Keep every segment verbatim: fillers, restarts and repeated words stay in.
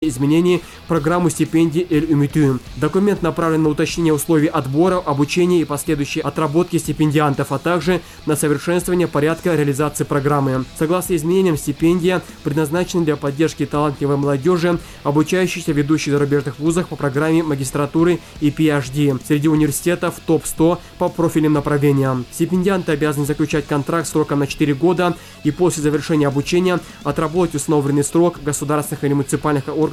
изменений в программу стипендий Эль-Үмүтү. Документ направлен на уточнение условий отбора, обучения и последующей отработки стипендиантов, а также на совершенствование порядка реализации программы. Согласно изменениям, стипендия предназначена для поддержки талантливой молодежи, обучающейся в ведущих зарубежных вузах по программе магистратуры и пи эйч ди среди университетов топ сто по профильным направлениям. Стипендианты обязаны заключать контракт сроком на четыре года и после завершения обучения отработать установленный срок в государственных или муниципальных органах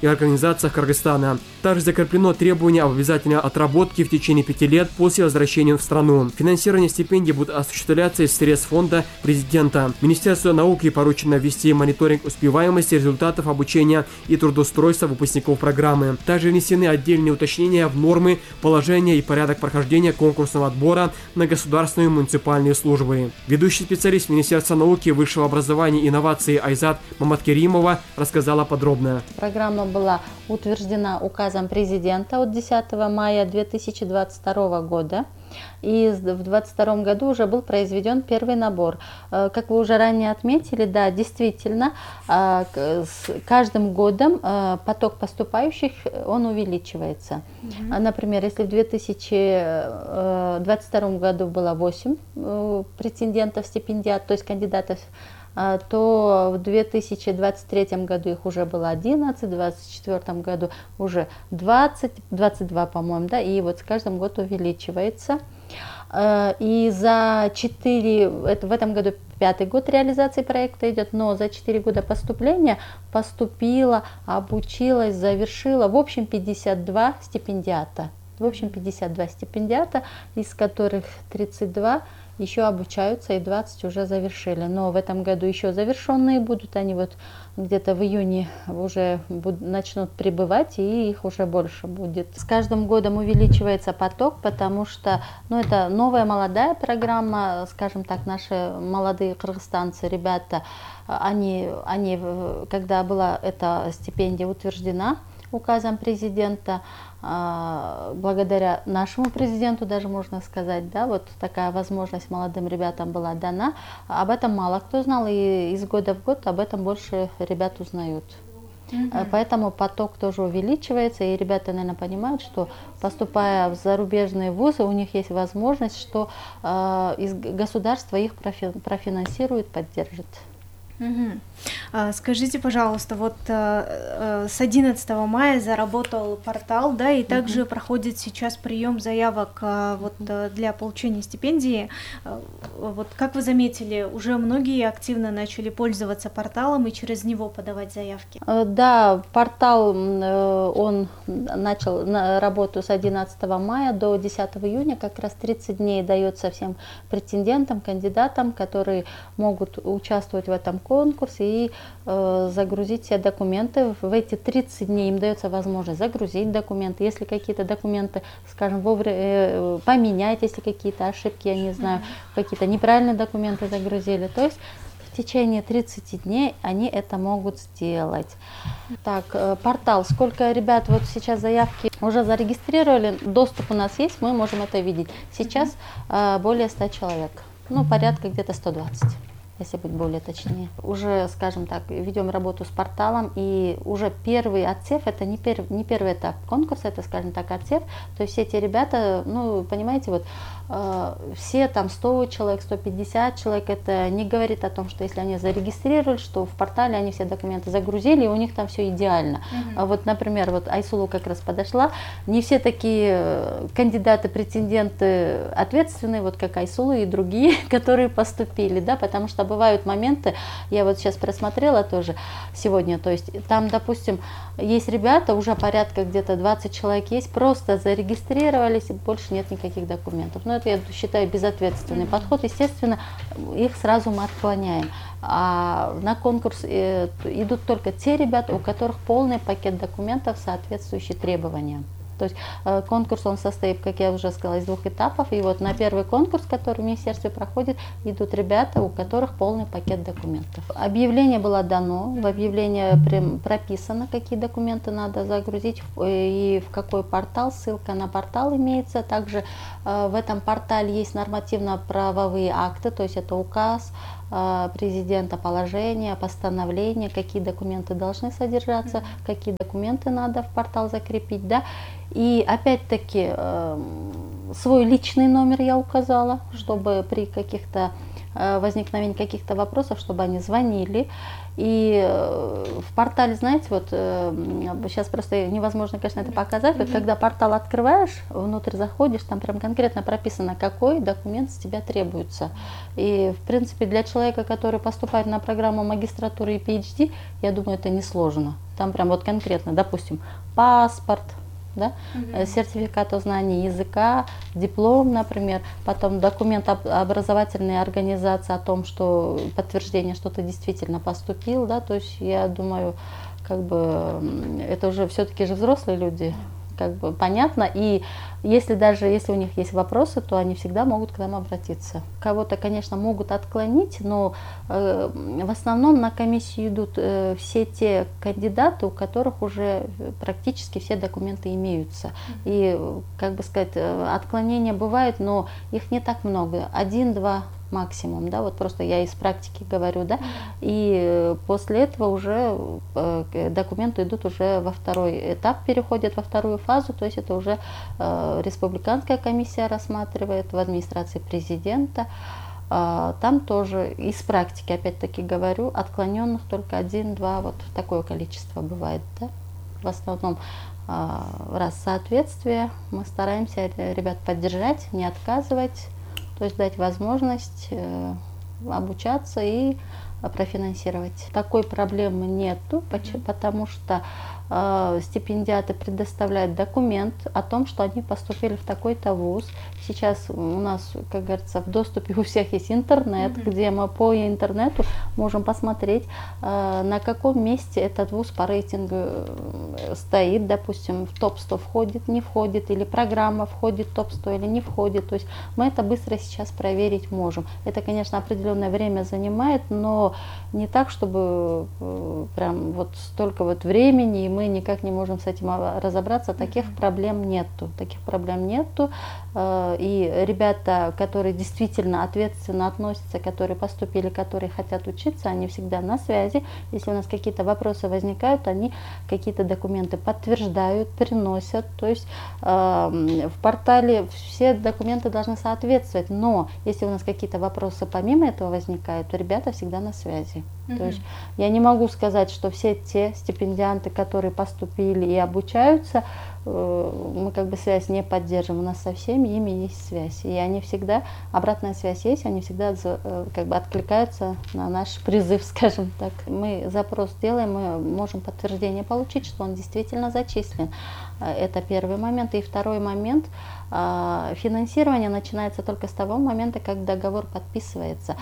и организациях Кыргызстана. Также закреплено требование об обязательной отработке в течение пяти лет после возвращения в страну. Финансирование стипендий будет осуществляться из средств фонда президента. Министерству науки поручено ввести мониторинг успеваемости результатов обучения и трудоустройства выпускников программы. Также внесены отдельные уточнения в нормы, положения и порядок прохождения конкурсного отбора на государственные и муниципальные службы. Ведущий специалист Министерства науки, высшего образования и инноваций Айзат Маматкеримова рассказала подробно. Программа была утверждена указом президента от десятого мая две тысячи двадцать второго года. И в две тысячи двадцать втором году уже был произведен первый набор. Как вы уже ранее отметили, да, действительно, с каждым годом поток поступающих, он увеличивается. Mm-hmm. Например, если в две тысячи двадцать втором году было восемь претендентов, стипендиат, то есть кандидатов, то в две тысячи двадцать третьем году их уже было одиннадцать, в две тысячи двадцать четвёртом году уже двадцать, двадцать два, по-моему, да, и вот с каждым годом увеличивается. И за четыре, это в этом году пятый год реализации проекта идет, но за четыре года поступления поступило, обучилось, завершило, в общем, пятьдесят два стипендиата. В общем, пятьдесят два стипендиата, из которых тридцать два еще обучаются и двадцать уже завершили. Но в этом году еще завершенные будут, они вот где-то в июне уже будут, начнут прибывать, и их уже больше будет. С каждым годом увеличивается поток, потому что, ну, это новая молодая программа, скажем так, наши молодые кыргызстанцы, ребята, они, они, когда была эта стипендия утверждена указом президента, благодаря нашему президенту, даже можно сказать, да, вот такая возможность молодым ребятам была дана. Об этом мало кто знал, и из года в год об этом больше ребят узнают. Mm-hmm. Поэтому поток тоже увеличивается, и ребята, наверное, понимают, что, поступая в зарубежные вузы, у них есть возможность, что э, из государства их профи профинансирует, поддержит. Угу. А, скажите, пожалуйста, вот а, с одиннадцатого мая заработал портал, да, и также угу. проходит сейчас прием заявок а, вот, а, для получения стипендии. А, вот как вы заметили, уже многие активно начали пользоваться порталом и через него подавать заявки? Да, портал, он начал работу с одиннадцатого мая до десятого июня, как раз тридцать дней дается всем претендентам, кандидатам, которые могут участвовать в этом конкурсе и э, загрузить все документы. В эти тридцать дней им дается возможность загрузить документы. Если какие-то документы, скажем, вовремя э, поменять, если какие-то ошибки, я не знаю, какие-то неправильные документы загрузили. То есть в течение тридцати дней они это могут сделать. Так, э, портал. Сколько ребят вот сейчас заявки уже зарегистрировали, доступ у нас есть, мы можем это видеть. Сейчас э, более ста человек, ну, порядка где-то сто двадцать. Если быть более точнее. Уже, скажем так, ведем работу с порталом, и уже первый отсев, это не, пер, не первый этап конкурса, это, скажем так, отсев. То есть все эти ребята, ну, понимаете, вот э, все там сто человек, сто пятьдесят человек, это не говорит о том, что если они зарегистрировали, что в портале они все документы загрузили, и у них там все идеально. Mm-hmm. А вот, например, вот Айсулу как раз подошла, не все такие кандидаты, претенденты ответственные, вот как Айсулу и другие, которые поступили, да, потому что бывают моменты, я вот сейчас просмотрела тоже сегодня, то есть там, допустим, есть ребята, уже порядка где-то двадцать человек есть, просто зарегистрировались, и больше нет никаких документов. Но это, я считаю, безответственный mm-hmm. подход. Естественно, их сразу мы отклоняем. А на конкурс идут только те ребята, у которых полный пакет документов, соответствующий требованиям. То есть э, конкурс, он состоит, как я уже сказала, из двух этапов. И вот на первый конкурс, который в министерстве проходит, идут ребята, у которых полный пакет документов. Объявление было дано, в объявлении прописано, какие документы надо загрузить и в какой портал, ссылка на портал имеется. Также э, в этом портале есть нормативно-правовые акты, то есть это указ, президента, положения, постановления, какие документы должны содержаться, какие документы надо в портал закрепить, да. И опять-таки свой личный номер я указала, чтобы при каких-то возникновении каких-то вопросов, чтобы они звонили. И в портале, знаете, вот сейчас просто невозможно, конечно, это показать. Вот когда портал открываешь, внутрь заходишь, там прям конкретно прописано, какой документ с тебя требуется. И, в принципе, для человека, который поступает на программу магистратуры и пи эйч ди, я думаю, это несложно. Там прям вот конкретно, допустим, паспорт, да, mm-hmm. сертификат о знании языка, диплом, например, потом документ об образовательной организации о том, что подтверждение, что ты действительно поступил, да, то есть я думаю, как бы это уже все-таки же взрослые люди, как бы понятно, и если даже если у них есть вопросы, то они всегда могут к нам обратиться. Кого-то, конечно, могут отклонить, но э, в основном на комиссию идут э, все те кандидаты, у которых уже практически все документы имеются. И, как бы сказать, отклонения бывают, но их не так много, один-два максимум, да, вот просто я из практики говорю, да, и после этого уже э, документы идут уже во второй этап, переходят во вторую фазу, то есть это уже э, республиканская комиссия рассматривает в администрации президента, э, там тоже из практики, опять-таки говорю, отклоненных только один-два, вот такое количество бывает, да, в основном. Э, раз соответствие, мы стараемся ребят поддержать, не отказывать, то есть дать возможность э, обучаться и профинансировать. Такой проблемы нету, потому что э, стипендиаты предоставляют документ о том, что они поступили в такой-то вуз. Сейчас у нас, как говорится, в доступе у всех есть интернет, mm-hmm. где мы по интернету можем посмотреть, э, на каком месте этот вуз по рейтингу стоит, допустим, в топ сто входит, не входит, или программа входит в топ сто или не входит. То есть мы это быстро сейчас проверить можем. Это, конечно, определенное время занимает, но не так, чтобы э, прям вот столько вот времени, и мы никак не можем с этим разобраться. Таких mm-hmm. проблем нету. Таких проблем нету. Э, и ребята, которые действительно ответственно относятся, которые поступили, которые хотят учиться, они всегда на связи. Если у нас какие-то вопросы возникают, они какие-то документы подтверждают, приносят. То есть э, в портале все документы должны соответствовать. Но если у нас какие-то вопросы помимо этого возникают, то ребята всегда на связи. Mm-hmm. То есть я не могу сказать, что все те стипендианты, которые поступили и обучаются, э, мы как бы связь не поддерживаем. У нас со всеми ими есть связь. И они всегда, обратная связь есть, они всегда э, как бы откликаются на наш призыв, скажем так. Мы запрос делаем, мы можем подтверждение получить, что он действительно зачислен. Это первый момент. И второй момент, э, финансирование начинается только с того момента, как договор подписывается.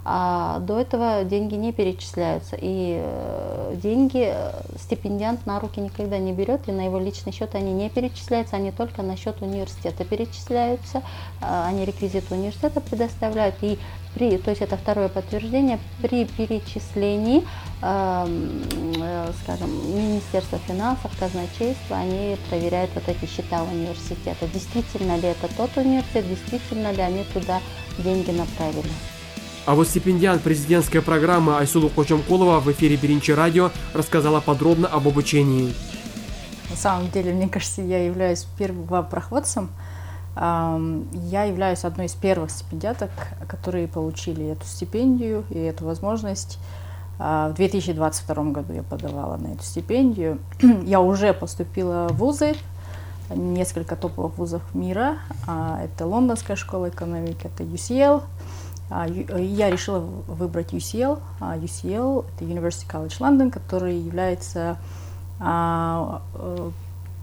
А до этого деньги не перечисляются, и э, деньги стипендиант на руки никогда не берет, и на его личный счет они не перечисляются, они только на счет университета перечисляются, э, они реквизиты университета предоставляют, и при, то есть это второе подтверждение, при перечислении, э, э, скажем, Министерства финансов, казначейства, они проверяют вот эти счета университета, действительно ли это тот университет, действительно ли они туда деньги направили. А вот стипендиант президентской программы Айсулу Кочомкулова в эфире Биринчи радио рассказала подробно об обучении. На самом деле, мне кажется, я являюсь первопроходцем. Я являюсь одной из первых стипендиаток, которые получили эту стипендию и эту возможность. В две тысячи двадцать втором году я подавала на эту стипендию. Я уже поступила в вузы, несколько топовых вузов мира. Это Лондонская школа экономики, это ю си эл. Я решила выбрать ю си эл. ю си эл – это University College London, который является а,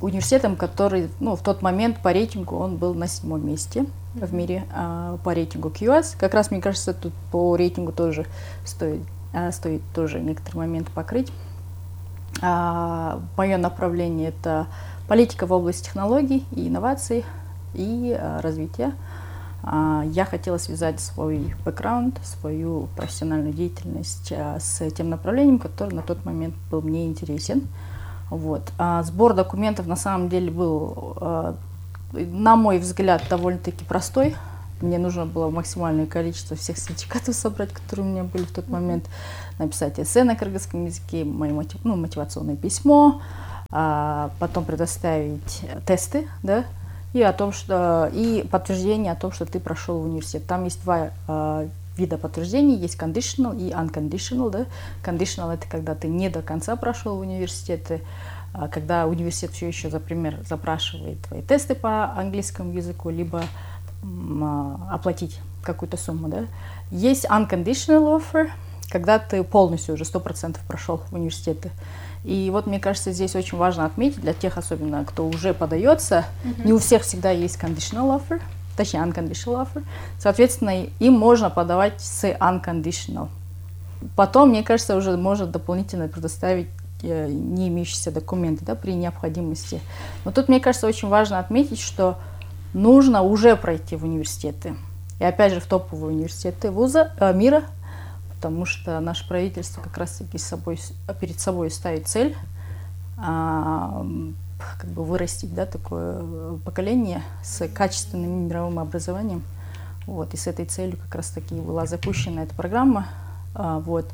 университетом, который, ну, в тот момент по рейтингу он был на седьмом месте mm-hmm. в мире, а, по рейтингу кью эс. Как раз, мне кажется, тут по рейтингу тоже стоит, а, стоит тоже некоторый момент покрыть. А, мое направление – это политика в области технологий и инноваций и а, развития. Я хотела связать свой бэкграунд, свою профессиональную деятельность с тем направлением, которое на тот момент был мне интересен. Вот. Сбор документов на самом деле был, на мой взгляд, довольно-таки простой. мне нужно было максимальное количество всех сертификатов собрать, которые у меня были в тот момент, написать эссе на кыргызском языке, мое мотив, ну, мотивационное письмо, а потом предоставить тесты, да, и о том, что и подтверждение о том, что ты прошел в университет. Там есть два а, вида подтверждений, есть conditional и unconditional, да. Conditional — это когда ты не до конца прошел в университет, а когда университет все еще, например, запрашивает твои тесты по английскому языку, либо а, оплатить какую-то сумму, да. Есть unconditional offer, когда ты полностью уже сто процентов прошел в университеты. И вот, мне кажется, здесь очень важно отметить для тех, особенно кто уже подается, mm-hmm. не у всех всегда есть conditional offer, точнее unconditional offer. Соответственно, им можно подавать с unconditional. Потом, мне кажется, уже можно дополнительно предоставить э, не имеющиеся документы, да, при необходимости. Но тут, мне кажется, очень важно отметить, что нужно уже пройти в университеты. И опять же в топовые университеты вуза, э, мира, потому что наше правительство как раз-таки с собой, перед собой ставит цель а, как бы вырастить, да, такое поколение с качественным мировым образованием. Вот, и с этой целью как раз-таки была запущена эта программа. А, вот.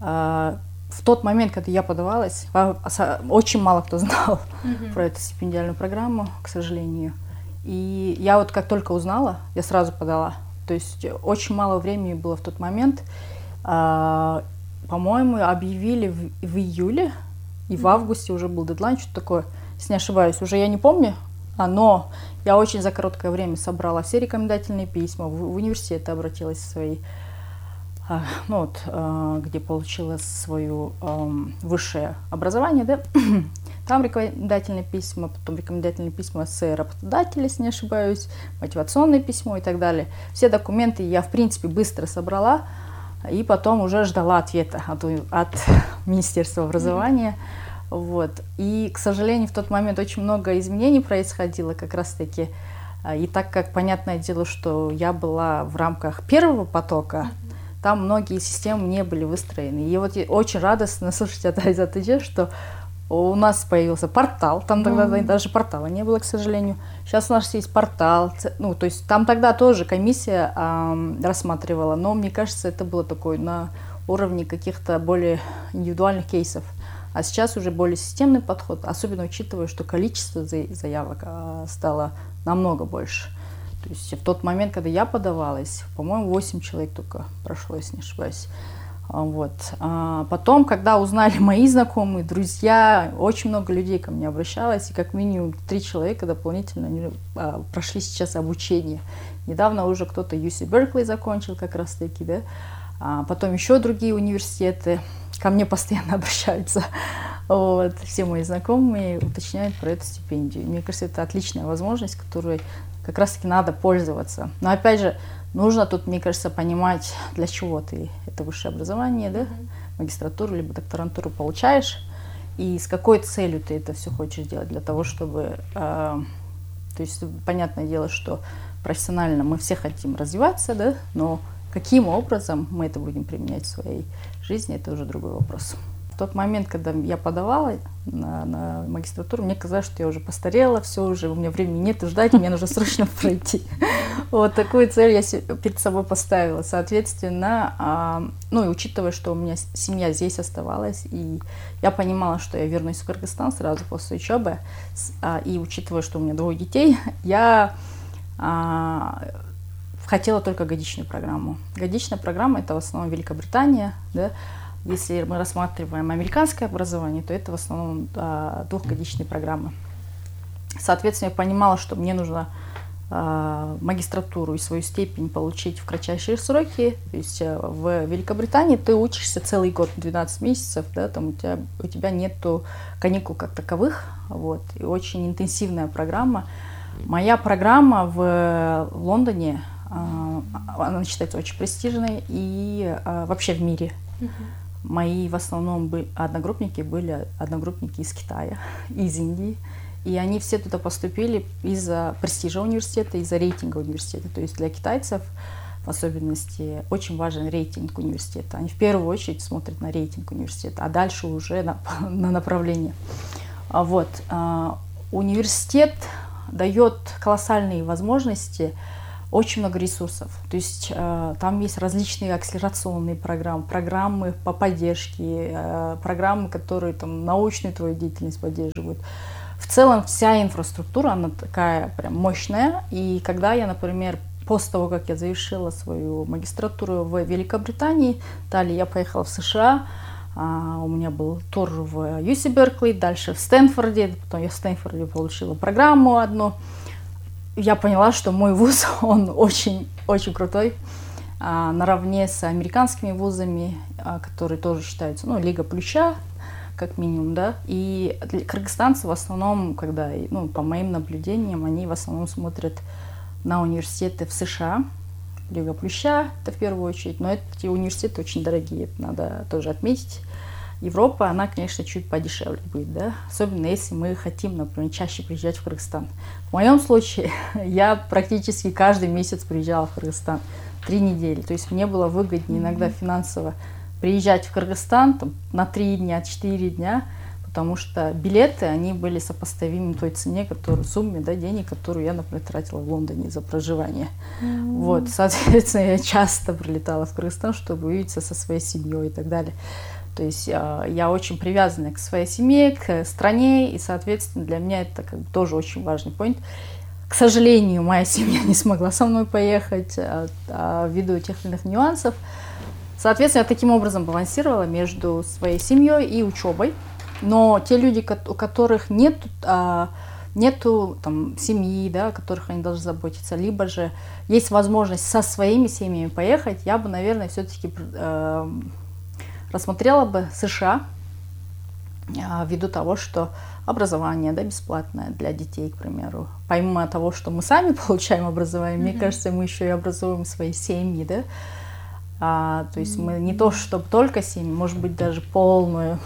А, в тот момент, когда я подавалась, очень мало кто знал mm-hmm. про эту стипендиальную программу, к сожалению. И я вот как только узнала, я сразу подала. То есть очень мало времени было в тот момент. Uh, по-моему, объявили в, в июле, и в августе уже был дедлайн, что такое, если не ошибаюсь, уже я не помню, а, но я очень за короткое время собрала все рекомендательные письма, в, в университет обратилась в свои, uh, ну вот, uh, где получила свое um, высшее образование, да, там рекомендательные письма, потом рекомендательные письма с работодателя, если не ошибаюсь, мотивационное письмо и так далее. Все документы я, в принципе, быстро собрала, и потом уже ждала ответа от, от Министерства образования. Mm-hmm. Вот. И, к сожалению, в тот момент очень много изменений происходило как раз-таки. И так как, понятное дело, что я была в рамках первого потока, mm-hmm. там многие системы не были выстроены. И вот очень радостно слышать от Айзат, что у нас появился портал, там тогда mm-hmm. даже портала не было, к сожалению. Сейчас у нас есть портал, ну, то есть там тогда тоже комиссия э, рассматривала, но мне кажется, это было такое на уровне каких-то более индивидуальных кейсов. А сейчас уже более системный подход, особенно учитывая, что количество заявок э, стало намного больше. То есть в тот момент, когда я подавалась, по-моему, восемь человек только прошло, если не ошибаюсь. Вот. А потом, когда узнали мои знакомые, друзья, очень много людей ко мне обращалось, и как минимум три человека дополнительно они, а, прошли сейчас обучение. Недавно уже кто-то ю си Беркли закончил как раз-таки, да, а потом еще другие университеты ко мне постоянно обращаются. Вот. Все мои знакомые уточняют про эту стипендию. Мне кажется, это отличная возможность, которой как раз-таки надо пользоваться. Но опять же, нужно тут, мне кажется, понимать, для чего ты это высшее образование, да, mm-hmm. магистратуру либо докторантуру получаешь, и с какой целью ты это все хочешь делать, для того, чтобы, э, то есть, понятное дело, что профессионально мы все хотим развиваться, да, но каким образом мы это будем применять в своей жизни, это уже другой вопрос. В тот момент, когда я подавала на, на магистратуру, мне казалось, что я уже постарела, все уже, у меня времени нет ждать, мне нужно срочно пройти. Вот такую цель я перед собой поставила. Соответственно, ну и учитывая, что у меня семья здесь оставалась, и я понимала, что я вернусь в Кыргызстан сразу после учебы, и учитывая, что у меня двое детей, я хотела только годичную программу. Годичная программа — это в основном Великобритания, да. Если мы рассматриваем американское образование, то это в основном а, двухгодичные программы. Соответственно, я понимала, что мне нужно а, магистратуру и свою степень получить в кратчайшие сроки. То есть а, в Великобритании ты учишься целый год, двенадцать месяцев, да, там у тебя, у тебя нету каникул как таковых. Вот, и очень интенсивная программа. Моя программа в Лондоне, а, она считается очень престижной и а, вообще в мире. Uh-huh. Мои в основном были, одногруппники были одногруппники из Китая, из Индии. И они все туда поступили из-за престижа университета, из-за рейтинга университета. То есть для китайцев, в особенности, очень важен рейтинг университета. Они в первую очередь смотрят на рейтинг университета, а дальше уже на, на направление. Вот. Университет дает колоссальные возможности очень много ресурсов. То есть э, там есть различные акселерационные программы, программы по поддержке, э, программы, которые там научную твою деятельность поддерживают. В целом вся инфраструктура, она такая прям мощная. И когда я, например, после того, как я завершила свою магистратуру в Великобритании, далее я поехала в США, а, у меня был тур в ю си Беркли, дальше в Стэнфорде, потом я в Стэнфорде получила программу одну. Я поняла, что мой вуз, он очень-очень крутой, а, наравне с американскими вузами, а, которые тоже считаются, ну, Лига Плюща, как минимум, да. И кыргызстанцы в основном, когда, ну, по моим наблюдениям, они в основном смотрят на университеты в США, Лига Плюща, это в первую очередь, но эти университеты очень дорогие, это надо тоже отметить. Европа, она, конечно, чуть подешевле будет, да, особенно если мы хотим, например, чаще приезжать в Кыргызстан. В моем случае я практически каждый месяц приезжала в Кыргызстан, три недели, то есть мне было выгоднее иногда финансово приезжать в Кыргызстан там, на три дня, четыре дня, потому что билеты, они были сопоставимы той цене, которую, сумме, да, денег, которую я, например, тратила в Лондоне за проживание. Mm-hmm. Вот, соответственно, я часто прилетала в Кыргызстан, чтобы увидеться со своей семьей и так далее. То есть я очень привязана к своей семье, к стране, и, соответственно, для меня это как бы тоже очень важный point. К сожалению, моя семья не смогла со мной поехать а, а, ввиду тех или иных нюансов. Соответственно, я таким образом балансировала между своей семьей и учебой. Но те люди, у которых нет, а, нету там, семьи, да, о которых они должны заботиться, либо же есть возможность со своими семьями поехать, я бы, наверное, все-таки а, рассмотрела бы США, а, ввиду того, что образование, да, бесплатное для детей, к примеру. Помимо того, что мы сами получаем образование, mm-hmm. мне кажется, мы еще и образуем свои семьи, да. А, то есть mm-hmm. мы не то, чтобы только семьи, может быть, даже полную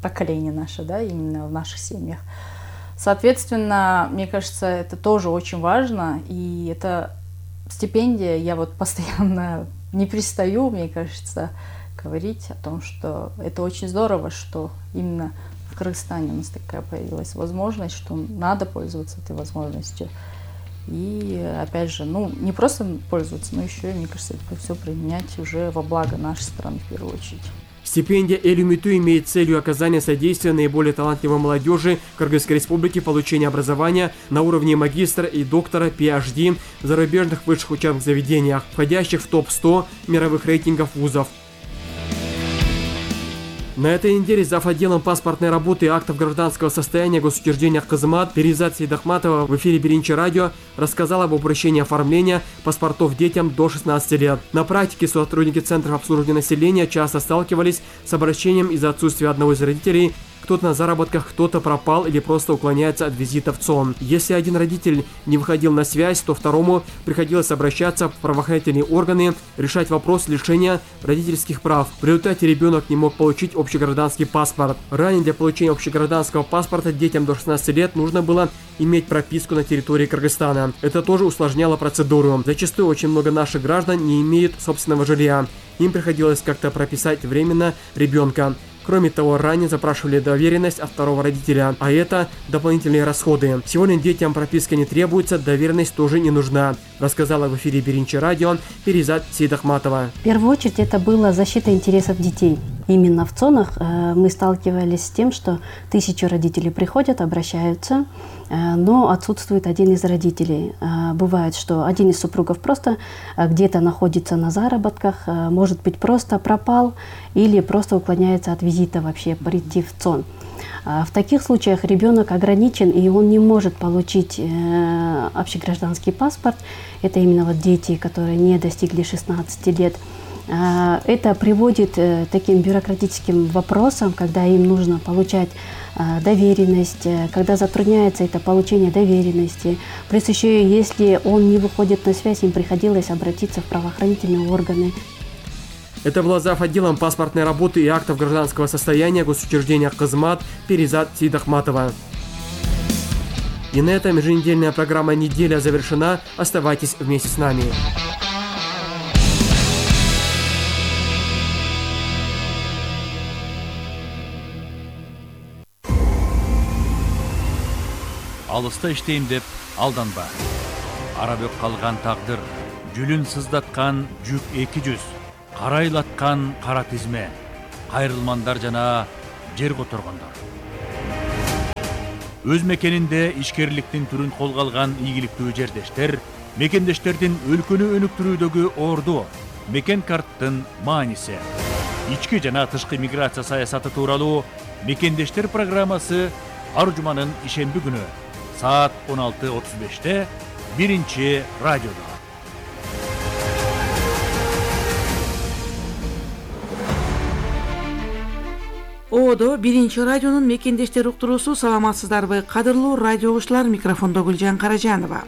поколение наше, да, именно в наших семьях. Соответственно, мне кажется, это тоже очень важно, и это стипендия, я вот постоянно не перестаю, мне кажется, говорить о том, что это очень здорово, что именно в Кыргызстане у нас такая появилась возможность, что надо пользоваться этой возможностью. И, опять же, ну, не просто пользоваться, но еще, мне кажется, это все применять уже во благо нашей страны в первую очередь. Стипендия Эл-Үмүтү имеет целью оказания содействия наиболее талантливой молодежи Кыргызской Республики получения образования на уровне магистра и доктора пи эйч ди в зарубежных высших учебных заведениях, входящих в топ сто мировых рейтингов вузов. На этой неделе зав. Отделом паспортной работы и актов гражданского состояния госучреждения Кызмат Перизат Сейдахматова в эфире Биринчи радио рассказала об упрощении оформления паспортов детям до шестнадцати лет. На практике сотрудники центров обслуживания населения часто сталкивались с обращением из-за отсутствия одного из родителей. Кто-то на заработках, кто-то пропал или просто уклоняется от визита в ЦОН. Если один родитель не выходил на связь, то второму приходилось обращаться в правоохранительные органы, решать вопрос лишения родительских прав. В результате ребенок не мог получить общегражданский паспорт. Ранее для получения общегражданского паспорта детям до шестнадцати лет нужно было иметь прописку на территории Кыргызстана. Это тоже усложняло процедуру. Зачастую очень много наших граждан не имеют собственного жилья. Им приходилось как-то прописать временно ребенка. Кроме того, ранее запрашивали доверенность от второго родителя, а это дополнительные расходы. Сегодня детям прописка не требуется, доверенность тоже не нужна, рассказала в эфире Биринчи радио Перизат Сейдахматова. В первую очередь это была защита интересов детей. Именно в ЦОНах э, мы сталкивались с тем, что тысячи родителей приходят, обращаются, э, но отсутствует один из родителей. Э, бывает, что один из супругов просто э, где-то находится на заработках, э, может быть, просто пропал или просто уклоняется от визита вообще прийти в ЦОН. Э, в таких случаях ребенок ограничен, и он не может получить э, общегражданский паспорт. Это именно вот дети, которые не достигли шестнадцати лет. Это приводит к таким бюрократическим вопросам, когда им нужно получать доверенность, когда затрудняется это получение доверенности. Плюс еще, если он не выходит на связь, им приходилось обратиться в правоохранительные органы. Это была зав. Отделом паспортной работы и актов гражданского состояния госучреждения Кызмат Перизат Сейдахматова. И на этом еженедельная программа «Неделя» завершена. Оставайтесь вместе с нами. Алыста иштейм деп алданба. арабөк калган тагдыр, жүлүн сыздаткан жүк эки жүз, карайлаткан кара тизме, кайрылмандар жана жер которгондор. Өз мекенинде ишкерликтин түрүн колго алган ийгиликтүү жердештер, мекендештердин өлкөнү өнүктүрүүдөгү орду, мекен карттын мааниси. Ички жана тышкы миграция саясаты тууралуу Мекендештер программасы ар жуманын ишемби күнү саат он алты отуз беште биринчи радиодо. Оодо биринчи радионун Мекендештер уктуруусу. Саламатсыздарбы, кадырлуу радио угуучулар, микрофондо Гүлжан Каражанова.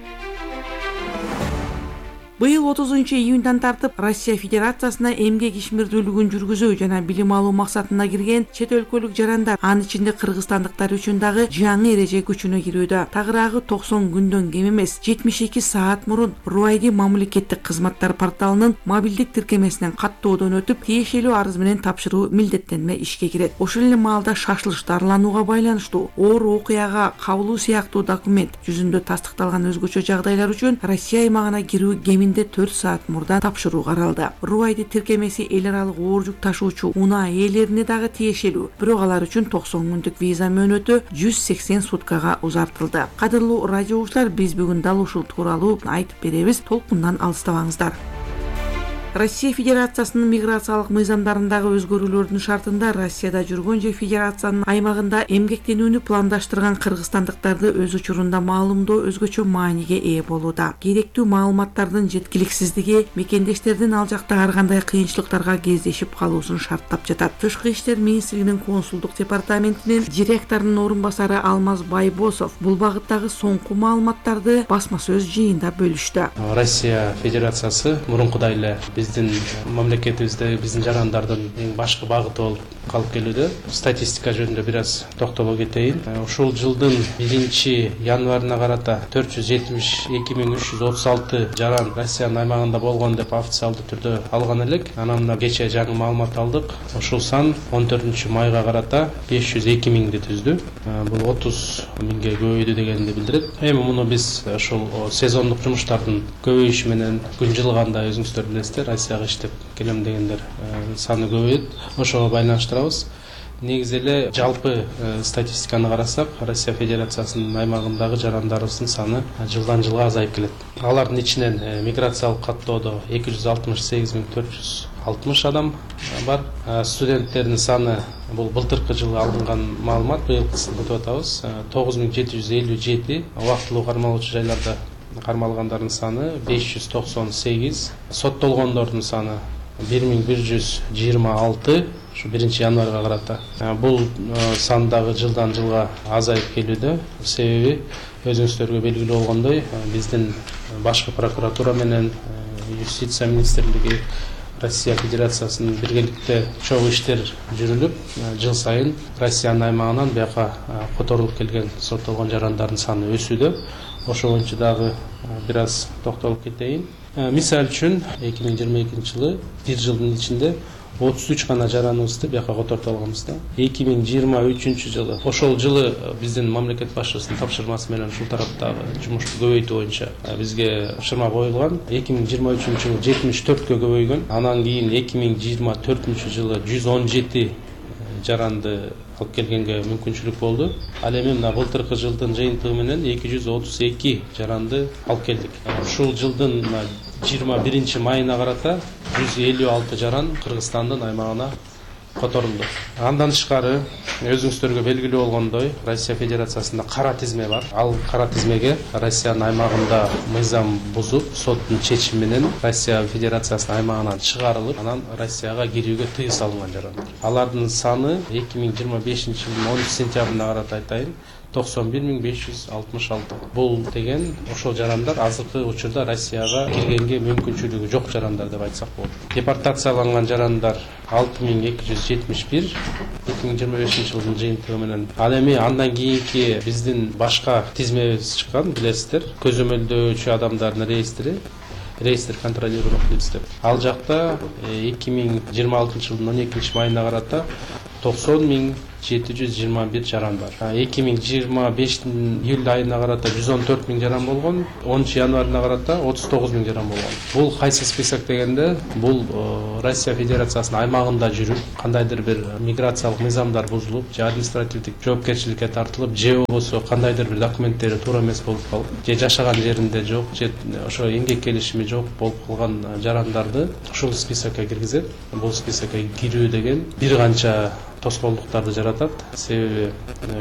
Быйыл отузунчу июндан тартып Россия Федерациясына эмгек ишмердүүлүгүн жүргүзүү жана билим алуу максатына кирген чет өлкөлүк жарандар, анын ичинде кыргызстандыктар үчүн дагы жаңы эреже күчүнө кирүүдө. Тагыраагы токсон күндөн кем эмес жетимиш эки саат мурун Руайди мамлекеттик кызматтар порталынын мобилдик тиркемесинен каттоодон өтүп, тиешелүү арыз менен тапшыруу милдеттенме ишке кирет. Ошол эле маалда шашылыш дарыланууга байланыштуу оор окуяга кабылуу сыяктуу документ жүзүндө тастыкталган өзгөчө жагдайлар үчүн Россия аймагына кирүү кеминде төрт саат мурда тапшыруу каралды. Руайди тиркемеси эл аралык оор жүк ташуучу унаа ээлерине дагы тиешелүү. Бирок алар үчүн токсон күндүк виза мөөнөтү жүз сексен суткага узартылды. Кадырлуу радио угуучулар, биз бүгүн дал ушул тууралуу айтып беребиз. Толкундан алыстабаңыздар. Россия Федерациясынын миграциялык мыйзамдарындагы өзгөрүүлөрдүн шартында Россияда жүргөн же Федерациянын аймагында эмгектенүүнү пландаштырган кыргызстандыктарды өз учурунда маалымдоо өзгөчө мааниге ээ болууда. Керектүү маалыматтардын жеткиликсиздиги мекендештердин ал жакта ар кандай кыйынчылыктарга кездешип калуусун шарттап жатат. Тышкы иштер министрлигинин консулдук департаментинин директорунун орун басары Алмаз Байбосов бул багыттагы соңку маалыматтарды басма сөз жыйында бөлүштү. Россия Федерациясы мурункудай эле биздин мамлекетибизде биздин жарандардын эң башкы багыты болуп калып келүүдө. Статистика жөнүндө бир аз токтоло кетейин. Ушул жылдын биринчи январына карата төрт жүз жетимиш эки миң үч жүз отуз алты жаран Россиянын аймагында болгон деп официалдуу түрдө алган элек. Анан мына кечээ жаңы маалымат алдык. Ушул сан он төртүнчү майга карата беш жүз эки миңди түздү. Бул отуз миңге көбөйдү дегенди билдирет. Эми муну биз ушул сезондук жумуштардын көбөйүшү менен күн жылганда өзүңүздөр билесиздер, Россияга иштеп келем дегендер саны көбөйөт. Ошого байланыштырабыз. Негизи эле жалпы статистиканы карасак, Россия Федерациясынын аймагындагы жарандарыбыздын саны жылдан жылга азайып келет. Алардын ичинен миграциялык каттоодо эки жүз алтымыш сегиз миң төрт жүз алтымыш адам бар. Студенттердин саны, бул былтыркы жылы алынган маалымат, быйылкысын өтүп атабыз, тогуз миң жети жүз элүү жети. Убактылуу кармалуучу жайларда кармалгандардын саны беш жүз токсон сегиз, соттолгондордун саны бир миң бир жүз жыйырма алты, ушу биринчи январга карата. Бул сан дагы жылдан жылга азайып келүүдө. Себеби өзүңүздөргө белгилүү болгондой, биздин башкы прокуратура менен юстиция министрлиги Россия Федерациясынын биргеликте чогуу иштер жүрүлүп, жыл сайын Россиянын аймагынан бияка которулуп келген соттолгон жарандардын саны өсүүдө. Ошо боюнча дагы бир аз токтолуп кетейин. Мисал үчүн эки миң жыйырма экинчи жылы бир жылдын ичинде отуз үч гана жараныбызды бияка котортуп алганбыз да. эки миң жыйырма үчүнчү жылы, ошол жылы биздин мамлекет башчысынын тапшырмасы менен ушул тараптагы жумушту көбөйтүү боюнча бизге тапшырма коюлган. эки миң жыйырма үчүнчү жылы жетимиш төрткө көбөйгөн. Анан кийин эки миң жыйырма төртүнчү жылы жүз он жети жаранды алып келгенге мүмкүнчүлүк болду. Ал эми мына былтыркы жылдын жыйынтыгы менен эки жүз отуз эки жаранды алып келдик. Ушул жылдын жыйырма биринчи майына карата жүз элүү алты жаран Кыргызстандын аймагына которулду. Андан тышкары өзүңүздөргө белгилүү болгондой, Россия Федерациясында кара тизме бар. Ал кара тизмеге Россиянын аймагында мыйзам бузуп, соттун чечими менен Россия Федерациясынын аймагынан чыгарылып, анан Россияга кирүүгө тыюу салынган жарандар. Алардын саны эки миң жыйырма бешинчи жылдын онунчу сентябрына карата айтайын, токсон бир миң беш жүз алтымыш алты. Бул деген ошол жарандар азыркы учурда Россияга киргенге мүмкүнчүлүгү жок жарандар деп айтсак болот. Депортацияланган жарандар алты миң эки жүз жетимиш бир, эки миң жыйырма бешинчи жылдын жыйынтыгы менен. Ал эми андан кийинки биздин башка тизмебиз чыккан, билесиздер, көзөмөлдөөчү адамдардын реестри, реестр контролируемых лиц деп. Ал жакта эки миң жыйырма алтынчы жылдын он экинчи майына карата токсон миң жети жүз жыйырма бир жаран бар. эки миң жыйырма бештин июль айына карата жүз он төрт миң жаран болгон, онунчу январына карата отуз тогуз миң жаран болгон. Бул кайсы список дегенде, бул Россия Федерациясынын аймагында жүрүп, кандайдыр бир миграциялык мыйзамдар бузулуп, же административдик жоопкерчиликке тартылып, же болбосо кандайдыр бир документтери туура эмес болуп калып, же жашаган жеринде жок, же ошо эмгек келишими жок болуп калган жарандарды ушул списокко киргизет. Бул списокко кирүү деген бир канча тоскоолдуктарды жаратат. Себеби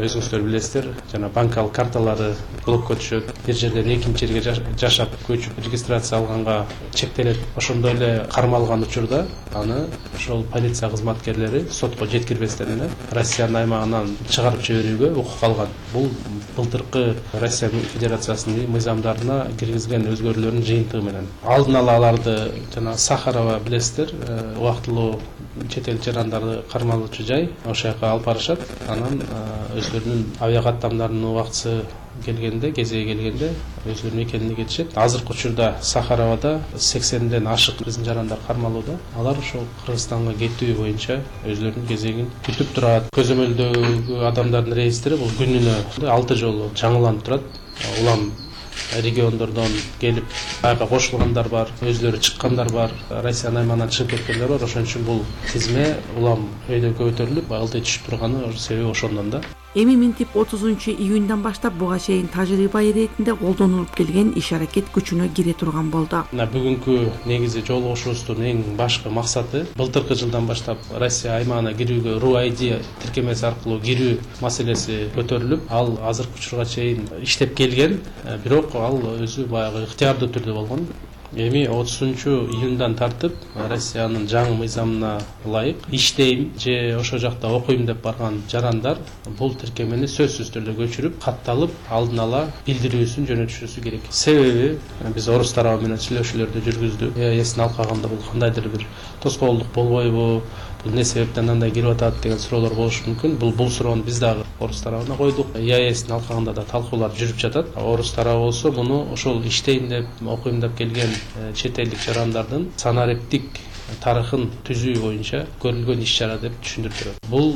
өзүңүздөр билесиздер, жана банкалык карталары блокко түшөт, бир жерден экинчи жерге жашап, көчүп регистрация алганга чектелет. Ошондой эле кармалган учурда аны ошол полиция кызматкерлери сотко жеткирбестен эле Россиянын аймагынан чыгарып жиберүүгө укук алган. Бул былтыркы Россия Федерациясынын мыйзамдарына киргизген өзгөрүүлөрдүн жыйынтыгы менен. Алдын ала аларды жана Сахарова билесиздер, убактылуу чет эл жарандарды кармалуучу жай, ошол жака алып барышат. Анан өздөрүнүн авиакаттамдарынын убактысы келгенде, кезеги келгенде өздөрүнүн мекенине кетишет. Азыркы учурда Сахаровада сексенден ашык биздин жарандар кармалууда. Алар ошол Кыргызстанга кетүү боюнча өздөрүнүн кезегин күтүп турат. Көзөмөлдөгү адамдардын реестри бул күнүнө алты жолу жаңыланып турат. Улам региондордон келип ага кошулгандар бар, өзлөрү чыккандар бар, Россиянын аймагынан чыгып кеткендер бар. Ошон үчүн бул тизме улам өйдө көтөрүлүп, алды түшүп турганы себеби ошондон да. Эми минтип отузунчу июндан баштап буга чейин тажрыйба иретинде колдонулуп келген иш-аракет күчүнө кире турган болду. Мына бүгүнкү негизи жолугушуубуздун эң башкы максаты былтыркы жылдан баштап Россия аймагына кирүүгө эр у ай ди тиркемеси аркылуу кирүү маселеси көтөрүлүп, ал азыркы учурга чейин иштеп келген, бирок ал өзү баягы ыктыярдуу түрдө болгон. Эми отузунчу июндан тартып Россиянын жаңы мыйзамына ылайык иштейм же ошол жакта окуйм деп барган жарандар бул тиркемени сөзсүз түрдө көчүрүп, катталып, алдын ала билдирүүсүн жөнөтүшүсү керек. Себеби биз орус тарабы менен сүйлөшүүлөрдү жүргүздүк. Э А Эстин алкагында бул кандайдыр бир тоскоолдук болбойбу? Бул эмне себептен андай кирип атат деген суроолор болушу мүмкүн. Бул бул суроону биз дагы орус тарабына койдук. Е А Эстин алкагында да талкуулар жүрүп жатат. Орус тарабы болсо муну ошол иштейм деп, окуйм деп келген чет элдик жарандардын санариптик тарыхын түзүү боюнча көрүлгөн иш-чара деп түшүндүрүп берет. Бул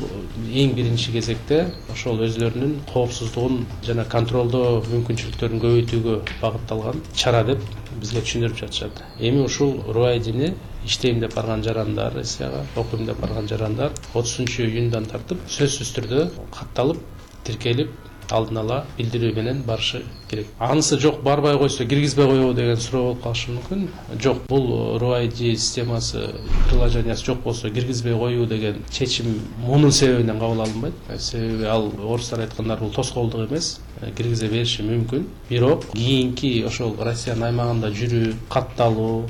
эң биринчи кезекте ошол өзлөрүнүн коопсуздугун жана контролдоо мүмкүнчүлүктөрүн көбөйтүүгө багытталган чара деп бизге түшүндүрүп жатышат. Эми ушул эр у ай дини иштейм деп барган жарандар, Россияга окуйм деп барган жарандар отузунчу июндан тартып сөзсүз түрдө катталып, тиркелип, алдын ала билдирүү менен барышы керек. Анысы жок, барбай койсо киргизбей коебу деген суроо болуп калышы мүмкүн. Жок, бул эр у ай ди системасы, приложениясы жок болсо киргизбей коюу деген чечим мунун себебинен кабыл алынбайт. Себеби ал орустар айткандар бул тоскоолдук эмес, киргизе бериши мүмкүн. Бирок кийинки ошол Россиянын аймагында жүрүү, катталуу,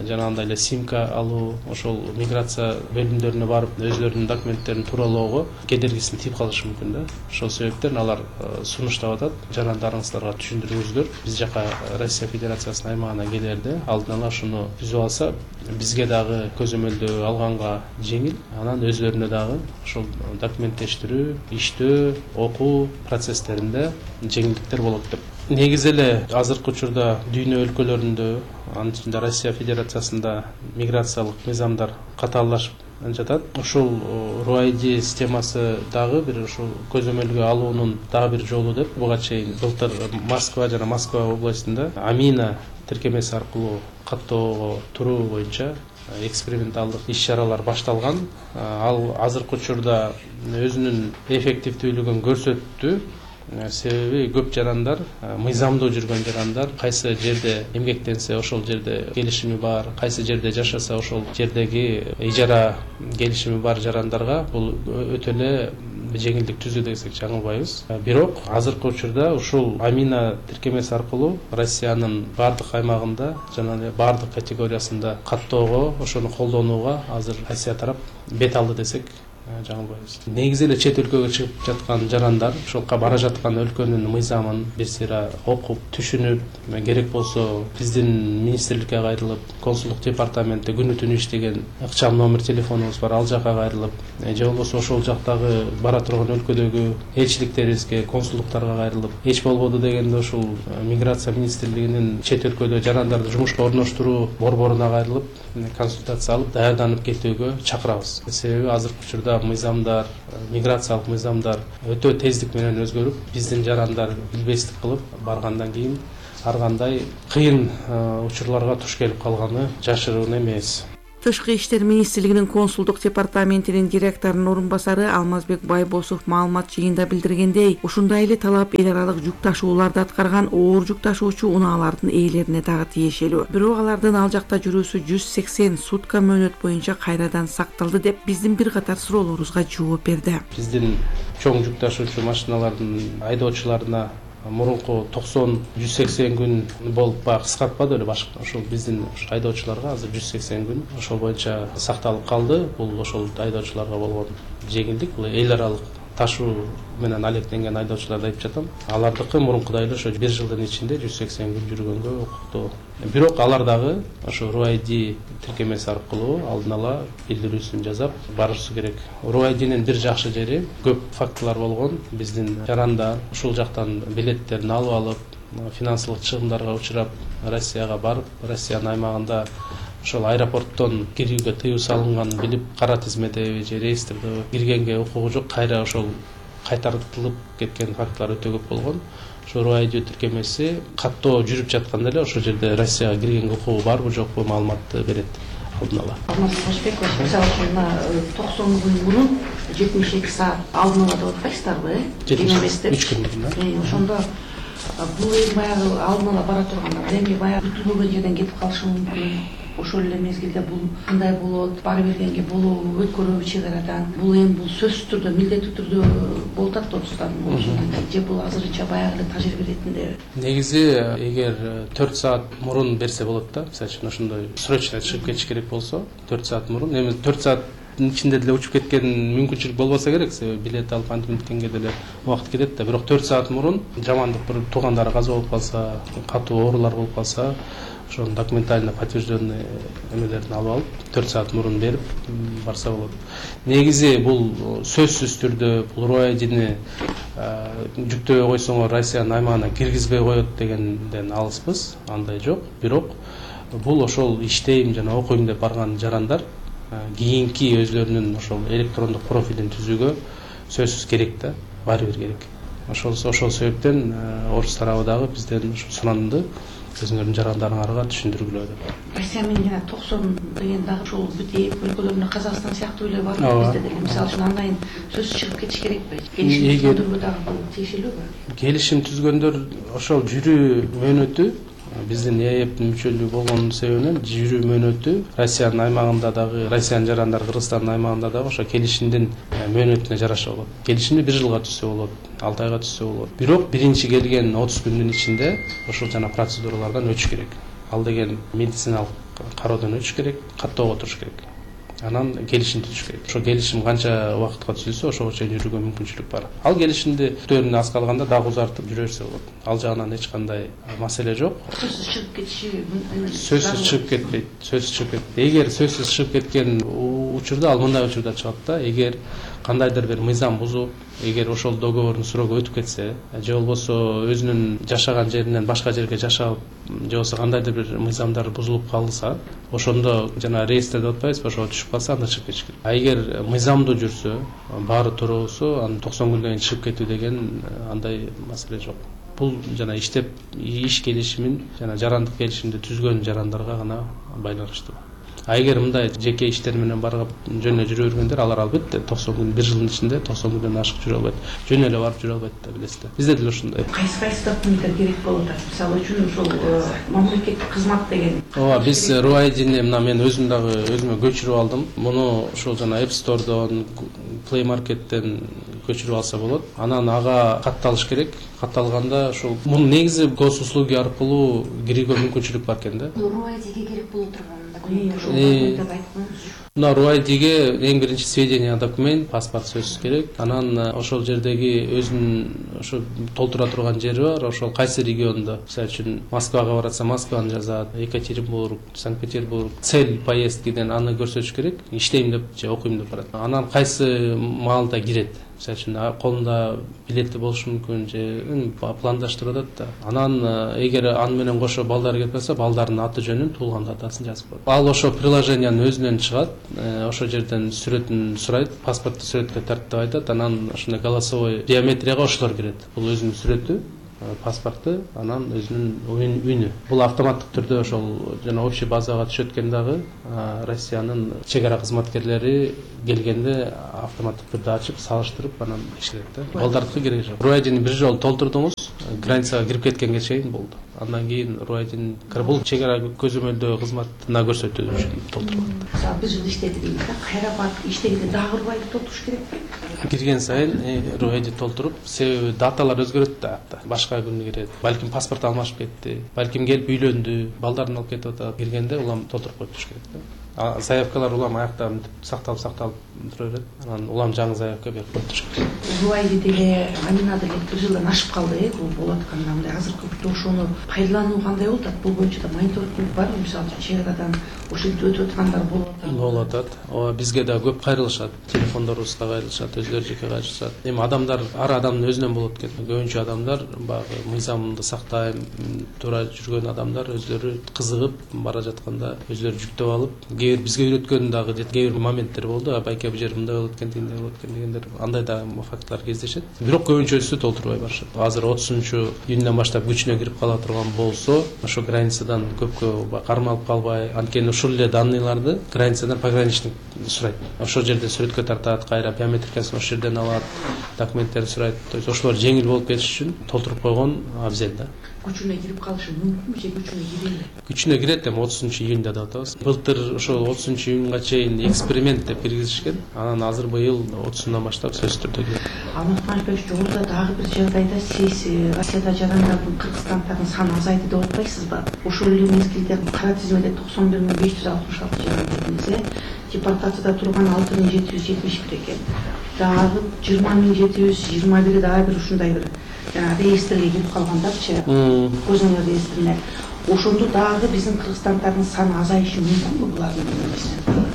жанагындай эле симка алуу, ошол миграция бөлүмдөрүнө барып өзлөрүнүн документтерин тууралоого кедергисин тийип калышы мүмкүн да. Ошол себептен алар сунуштап атат. Жарандарыңыздарга түшүндүрүңүздөр. Биз жака Россия Федерациясынын аймагына келерде алдын ала ушуну түзүп алса, бизге дагы көзөмөлдөө алганга жеңил. Анан өзлөрүнө дагы ошол документтештирүү, иштөө, окуу процесстеринде жеңилдиктер болот деп. Негизи эле азыркы учурда дүйнө өлкөлөрүндө, анын ичинде Россия Федерациясында миграциялык мыйзамдар катааллашып жатат. Ушул эр у ай ди системасы дагы бир ушул көзөмөлгө алуунун дагы бир жолу деп буга чейин былтыр Москва жана Москва областында Амина тиркемеси аркылуу каттоого туруу боюнча эксперименталдык иш-чаралар башталган. Ал азыркы учурда өзүнүн эффективдүүлүгүн көрсөттү. Себеби көп жарандар, мыйзамдуу жүргөн жарандар, кайсы жерде эмгектенсе ошол жерде келишими бар, кайсы жерде жашаса ошол жердеги ижара келишими бар жарандарга бул өтө эле жеңилдик түзүү десек жаңылбайбыз. Бирок азыркы учурда ушул Амина тиркемеси аркылуу Россиянын бардык аймагында жана бардык категориясында каттоого, ошону колдонууга азыр Россия тарап бет алды десек жаңылбайбыз. Негизи эле чет өлкөгө чыгып жаткан жарандар ошолка бара жаткан өлкөнүн мыйзамын бир сыйра окуп, түшүнүп, керек болсо биздин министрликке кайрылып, консулдук департаментте күнү түнү иштеген ыкчам номер телефонубуз бар, ал жака кайрылып, же болбосо ошол жактагы бара турган өлкөдөгү элчиликтерибизге, консулдуктарга кайрылып, эч болбоду дегенде ушул миграция министрлигинин чет өлкөдө жарандарды жумушка орноштуруу борборуна кайрылып, консультация алып, даярданып кетүүгө чакырабыз. Себеби азыркы учурда статистикага мыйзамдар, миграциялык мыйзамдар өтө тездик менен өзгөрүп, биздин жарандар билбестик кылып баргандан кийин ар кандай кыйын учурларга туш келип калганы жашыруун эмес. Тышкы иштер министрлигинин консулдук департаментинин директорунун орун басары Алмазбек Байбосов маалымат жыйында билдиргендей, ушундай эле талап эл аралык жүк ташууларды аткарган оор жүк ташуучу унаалардын ээлерине дагы тиешелүү. Бирок алардын ал жакта жүрүүсү жүз сексен сутка мөөнөт боюнча кайрадан сакталды деп биздин бир катар суроолорубузга жооп берди. Биздин чоң жүк ташуучу машиналардын айдоочуларына мурунку токсон жүз сексен күн болуп баягы кыскартпады эле башка. Ошол биздин айдоочуларга азыр жүз сексен күн ошол боюнча сакталып калды. Бул ошол айдоочуларга болгон жеңилдик. Бул эл аралык ташуу менен алектенген айдоочуларды айтып жатам. Алардыкы мурункудай эле ошо бир жылдын ичинде жүз сексен күн жүргөнгө укуктуу. Бирок алар дагы ошо РУ-айди тиркемеси аркылуу алдын ала билдирүүсүн жасап барышы керек. РУ-айдинин бир жакшы жери көп фактылар болгон. Биздин жарандар ушул жактан билеттерин алып алып, финансылык чыгымдарга учурап, Россияга барып, Россиянын аймагында ошол аэропорттон кирүүгө тыюу салынган билип, кара тизмеде же реестрде киргенге укугу жок, кайра ошол кайтартылып кеткен фактылар өтө көп болгон. Ошо РУ-айди тиркемеси каттоо жүрүп жатканда эле ошол жерде Россияга киргенге укугу барбы жокпу маалыматты берет алдын ала. Алмаз Башбеков, мисалы үчүн мына токсон күн мурун жетимиш эки саат алдын ала деп атпайсыздарбы, э? жетимиш үч күн мурун. Ошондо бул эми баягы алдын ала бара турганда эми баягы күтүлбөгөн жерден кетип калышы мүмкүн. Ошол эле мезгилде бул кандай болот, бара бергенге болобу, өткөрөбү чек арадан. Бул эми бул сөзсүз түрдө, милдеттүү түрдө болуп атат отуздан же бул азырынча баягы эле тажрыйба иретинде. Негизи эгер төрт саат мурун берсе болот да. Мисалы үчүн ошондой срочно чыгып кетиш керек болсо, төрт саат мурун. Эми төрт саат ичинде деле учуп кеткен мүмкүнчүлүк болбосо керек, себеби билет алып антип минткенге деле убакыт кетет да. Бирок төрт саат мурун жамандык бир туугандары каза болуп калса, катуу оорулар болуп калса, ошол документально подтвержденный эмелерин алып алып, төрт саат мурун берип барса болот. Негизи бул сөзсүз түрдө бул РУ-айдини жүктөбөй койсоңор Россиянын аймагына киргизбей коет дегенден алыспыз, андай жок. Бирок бул ошол иштейм жана окуйм деп барган жарандар кийинки өзлөрүнүн ошол электрондук профилин түзүүгө сөзсүз керек да, баары бир керек. Ошол ошол себептен орус тарабы дагы бизден суранды өзүңөрдүн жарандарыңарга түшүндүргүлө деп. Россия менен жана токсон деген дагы ушул бүт өлкөлөрүндө Казакстан сыяктуу эле бар бизде деле. Мисалы үчүн андайын сөзсүз чыгып кетиш керекпи? Келишим түзгөндөргө дагы бул тиешелүүбү? Келишим түзгөндөр ошол жүрүү мөөнөтү биздин ЭЭПтин мүчөлүгү болгон себебинен жүрүү мөөнөтү Россиянын аймагында дагы, Россиянын жарандары Кыргызстандын аймагында дагы ошо келишимдин мөөнөтүнө жараша болот. Келишимди бир жылга түзсө болот, алты айга түзсө болот. Бирок биринчи келген отуз күндүн ичинде ошол жана процедуралардан өтүш керек. Ал деген медициналык кароодон өтүш керек, каттоого туруш керек. Анан келишим түзүш керек. Ошо келишим канча убакытка түзүлсө, ошого чейин жүрүүгө мүмкүнчүлүк бар. Ал келишимди күтүүнү аз калганда дагы узартып жүрө берсе болот. Ал жагынан эч кандай маселе жок. Сөзсүз чыгып кетиши сөзсүз чыгып кетпейт. Сөзсүз чыгып кетпейт. Эгер сөзсүз чыгып кеткен учурда, ал мындай учурда чыгат да, эгер кандайдыр бир мыйзам бузуп, эгер ошол договордун срогу өтүп кетсе, же болбосо өзүнүн жашаган жеринен башка жерге жашап, же болбосо кандайдыр бир мыйзамдар бузулуп калса, ошондо жана реестрде деп атпайбызбы, ошо түшүп калса, анда чыгып кетиш керек. А эгер мыйзамдуу жүрсө, баары туура болсо, анан токсон күндөн кийин чыгып кетүү деген андай маселе жок. Бул жана иштеп иш келишимин жана жарандык келишимди түзгөн жарандарга гана байланыштуу. А эгер мындай жеке иштер менен барып жөн эле жүрө бергендер, алар албетте токсон күн, бир жылдын ичинде токсон күндөн ашык жүрө албайт. Жөн эле барып жүрө албайт да, билесиздер. Бизде деле ушундай. Кайсы кайсы документтер керек болот? Мисалы үчүн ошол мамлекеттик кызмат деген. Ооба, биз РУ-айдини мына мен өзүм дагы өзүмө көчүрүп алдым. Муну ошол жана App Store'дон, Play Market'тен көчүрүп алса болот. Анан ага катталыш керек. Катталганда ошол муну негизи госуслуги аркылуу кирүүгө мүмкүнчүлүк бар экен да. РУ-айдиге керек боло турган документ. Мына РУ-айдиге эң биринчи сведения документ, паспорт сөзсүз керек. Анан ошол жердеги өзүнүн ошо толтура турган жери бар, ошол кайсы региондо. Мисалы үчүн Москвага баратса Москваны жазат, Екатеринбург, Санкт-Петербург, цель поездкиден аны көрсөтүш керек. Иштейм деп же окуйм деп барат. Анан кайсы маалда кирет. Мисалы үчүн колунда билети болушу мүмкүн же пландаштырып атат да. Анан эгер аны менен кошо балдары кетип калса, балдардын аты жөнүн, туулган датасын жазып коет. Ал ошо приложениянын өзүнөн чыгат, ошол жерден сүрөтүн сурайт, паспортту сүрөткө тарт деп айтат. Анан ошондой голосовой биометрияга ошолор кирет. Бул өзүнүн сүрөтү, паспорту, анан өзүнүн үйүнү. Бул автоматтык түрдө ошол жана общий базага түшөт экен дагы. Россиянын чек ара кызматкерлери келгенде автоматтык түрдө ачып, салыштырып анан текшерет да. Балдардыкы кереги жок. Руайдини бир жолу толтурдуңуз, границага кирип кеткенге чейин болду. Андан кийин Руайдин бул чек ара көзөмөлдөө кызматына көрсөтүү үчүн толтурулат. Мисалы бир жыл иштеди дейт да, кайра барып иштегенде дагы Руайди толтуруш керекпи? Кирген сайын Руайди толтуруп, себеби даталар өзгөрөт да. Башка күнү кирет. Балким паспорт алмашып кетти, балким келип үйлөндү, балдарын алып кетип атат. Киргенде улам толтуруп коюп туруш керек да. Заявкалар улам аякта сакталып сакталып тура берет. Анан улам жаңы заявка берип коюп туруш керек. Руайди деле Амина деле бир жылдан ашып калды, э, бул болуп атканда мындай азыркы ошону пайдалануу кандай болуп атат? Бул боюнча да мониторинг барбы? Мисалы үчүн чек арадан ошол жерде өтүп аткандар болуп атат. Болуп атат. Ооба, бизге да көп кайрылышат. Телефондорубузга кайрылышат, өзлөрү жеке кайрылышат. Эми адамдар ар адамдын өзүнөн болот экен. Көбүнчө адамдар баягы мыйзамды сактайм, туура жүргөн адамдар өзлөрү кызыгып бара жатканда өзлөрү жүктөп алып, кээ бир бизге үйрөткөн дагы кээ бир моменттер болду. Байке бул жер мындай болот экен, тигиндей болот экен дегендер, андай да фактлар кездешет. Бирок көбүнчөсү толтурбай барышат. Азыр отузунчу июндан баштап күчүнө кирип кала турган болсо, ошо границадан көпкө кармалып калбай, анткени ушул эле данныйларды границадан пограничник сурайт. Ошол жерде сүрөткө тартат, кайра биометрикасын ошол жерден алат, документтерин сурайт. То есть ошолор жеңил болуп кетиш үчүн толтуруп койгон абзел да. Күчүнө кирип калышы мүмкүнбү же күчүнө кирели? Күчүнө кирет, эми отузунчу июнда деп атабыз. Былтыр ошол отузунчу июнга чейин эксперимент деп киргизишкен. Анан азыр быйыл отузундан баштап сөзсүз түрдө кирет. Алмаз Мамытбекович, жолдо дагы бир жагдайда сиз Россияда жарандардын, кыргызстандардын саны азайды деп атпайсызбы? Ошол эле мезгилде кара тизмеде токсон бир миң беш жүз алтымыш алты жаран дедиңиз, э? Депортацияда турган алты миң жети жүз жетимиш бир экен. Дагы жыйырма миң жети жүз жыйырма бири дагы бир ушундай бир жана реестрге кирип калгандарчы, көзөмөл реестрине. Ошондо дагы биздин кыргызстандардын саны азайышы мүмкүнбү булардын менен?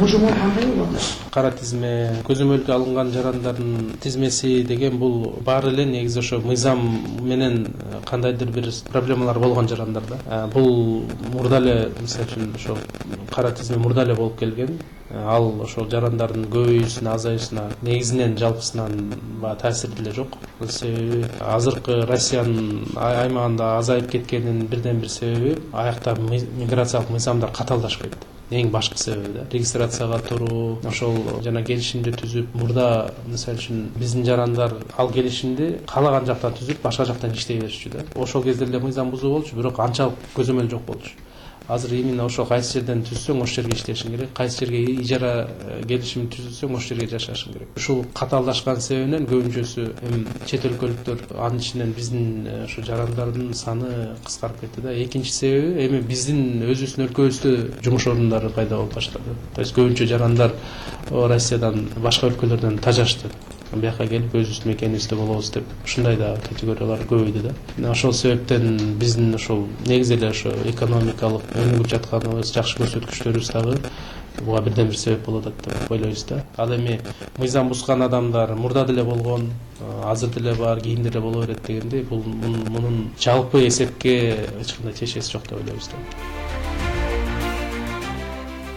Божомол кандай болот? Кара тизме, көзөмөлгө алынган жарандардын тизмеси деген бул баары эле негизи ошо мыйзам менен кандайдыр бир проблемалар болгон жарандар да. Бул мурда эле, мисалы үчүн, ошо кара тизме мурда эле болуп келген. Ал ошол жарандардын көбөйүүсүнө, азайышына негизинен жалпысынан таасир деле жок. Себеби азыркы Россиянын аймагында азайып кеткенинин бирден бир себеби аякта миграциялык мыйзамдар катаалдашып кетти. Эң башкы себеби да. Регистрацияга туруу, ошол жана келишимди түзүп, мурда мисалы үчүн биздин жарандар ал келишимди каалаган жактан түзүп, башка жактан иштей беришчү да. Ошол кезде эле мыйзам бузуу болчу, бирок анчалык көзөмөл жок болчу. Азыр именно ошол кайсы жерден түзсөң, ошол жерге иштешиң керек. Кайсы жерге ижара келишим түзүлсөң, ошол жерге жашашың керек. Ушул катаалдашкан себебинен көбүнчөсү эми чет өлкөлүктөр, анын ичинен биздин ошо жарандардын саны кыскарып кетти да. Экинчи себеби эми биздин өзүбүздүн өлкөбүздө жумуш орундары пайда болуп баштады. То есть көбүнчө жарандар Россиядан, башка өлкөлөрдөн тажашты. Бияка келип өзүбүздүн мекенибизде болобуз деп ушундай да категориялар көбөйдү да. Ошол себептен биздин ошол негизи эле ошо экономикалык өнүгүп жатканыбыз, жакшы көрсөткүчтөрүбүз дагы буга бирден бир себеп болот деп ойлойбуз да. Ал эми мыйзам бузган адамдар мурда деле болгон, азыр деле бар, кийин деле боло берет дегенде, бул мунун жалпы эсепке эч кандай тиешеси жок деп ойлойбуз да.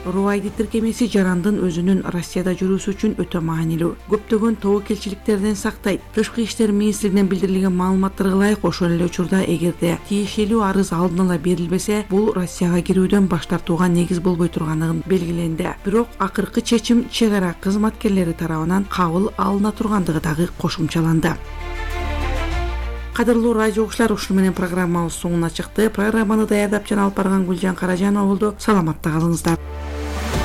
Руайди тиркемеси жарандын өзүнүн Россияда жүрүүсү үчүн өтө маанилүү. Көптөгөн тобокелчиликтерден сактайт. Тышкы иштер министрлигинен билдирилген маалыматтарга ылайык, ошол эле учурда эгерде тиешелүү арыз алдын ала берилбесе, бул Россияга кирүүдөн баш тартууга негиз болбой турганын белгиленди. Бирок акыркы чечим чек ара кызматкерлери тарабынан кабыл алына тургандыгы дагы кошумчаланды. Кадырлуу радио окуучулар, ушуну менен программабыз соңуна чыкты. Программаны даярдап жана алып барган Гүлжан Каражанова болду. Саламатта калыңыздар.